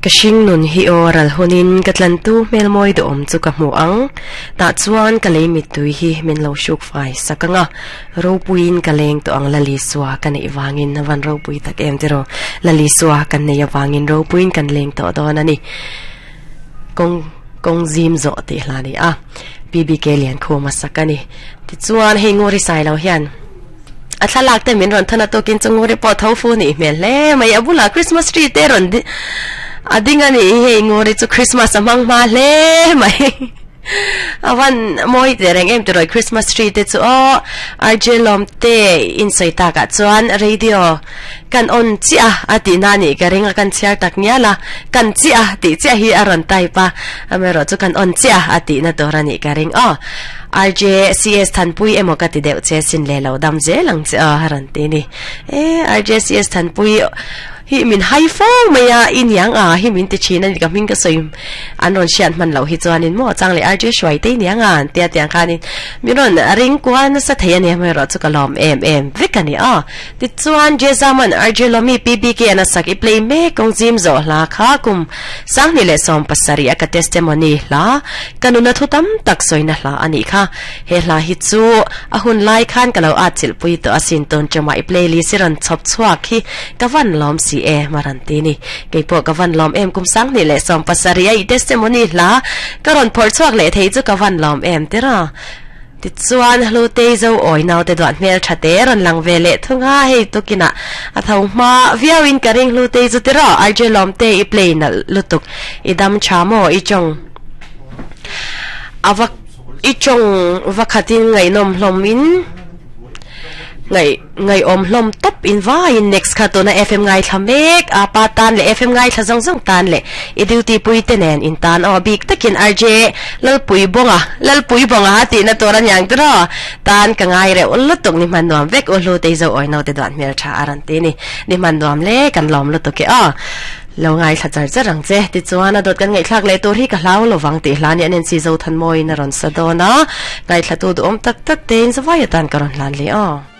Ka hringnun hi aw ral hunin ka tlantu hmelmawi duhawm chu ka hmu ang. Tah chuan ka lei mittui hi min lo hruk fai sak ang a, ropuiin ka leng tawh ang Lalisua ka neih vangin a van ropui tak em tiraw? Lalisua kan nei avangin ropuiin kan leng tawh dawn a ni. Kawng kawng zim zawh tih hla a ni a, PBK Liankhuma sak a ni. Tichuan hei Nguri Sailo hian. A thlalak te min rawn thawn a tukin chu Nguri pawh tho fu nih hmel hle mai. A bulah Christmas tree te rawn a ding a nih hi hei Nguri chu Christmas a hmang hma hle mai. A van mawi teh reng em tirawi Christmas tree te chu aw RJ Lawm te insawi takah chuan radio kan on chiah a tih na nih ka ring a kan chhiar tak ngial a kan chiah tih chiah hi a rawn type a amaherawh chu kan on chiah a tih na tur a nih ka ring aw. RJCS Thanpui emaw ka ti deuh che sin le lo dam zel ang che aw a rawn ti ni. E RJCS Thanpui hi min hai fo mai a i niang a hi min ti thin a ni ka hming ka sawi an rawn hriat hman loh hi chuanin maw chang leh RJ Hruai te i niang a an tia tiang khanin min rawn ring kual nasa thei a ni amaherawh chu ka lawm em em vek a ni aw. Tichuan Jezaman RJ Lawmi PBK an a sak i play mek kawng zim zawh hla kha kum 2017 a ka testimony hla ka nuna thu tam tak sawina hla a nih kha. He hla hi chu a hun lai khan ka lo at chilh pui tawh asin tun ṭumah i playlist i rawn chhawp chhuak hi ka van lawm si e maran ti ni. Keipawh ka van lawm em kum 2017 a i testimony hla ka rawn phawrh chhuak leh thei chu ka van lawm em tira. Tichuan, Hlutei zo awi naute duah hmel tha te rawn lang ve leh thung a, hei tukinah a tho hma viauin ka ring Hlutei chu tiraw RJ Lawmte i play nalh lutuk i dam tha maw i tawng a va i tawng va khatin ngaihnawm hlawm in ngaih Ngaihawm hlawm tawp in vaiin next kha tuna FM ngaithla mek a pa tan leh FM ngaithla zawng zawng tan leh i duty pui te nen in tan aw bik takin RJ Lalpui Bawnga Lalpui Bawnga tihna tur a niang tiraw tan ka ngai reuh lutuk ni hman nuam vek u hlu tei zo awi naute duan hmel tha a rawn ti ni ni hman nuam le kan lawm lutuk e aw lo ngaithla char char ang che tichuan a dawt kan ngaihthlak leh tur hi ka hlau lovang tih hla nia Nancy Zothanmawiin a rawn sa dawn a ngaithla tu duhawm tak tak tein zavai atan ka rawn hlan leh aw.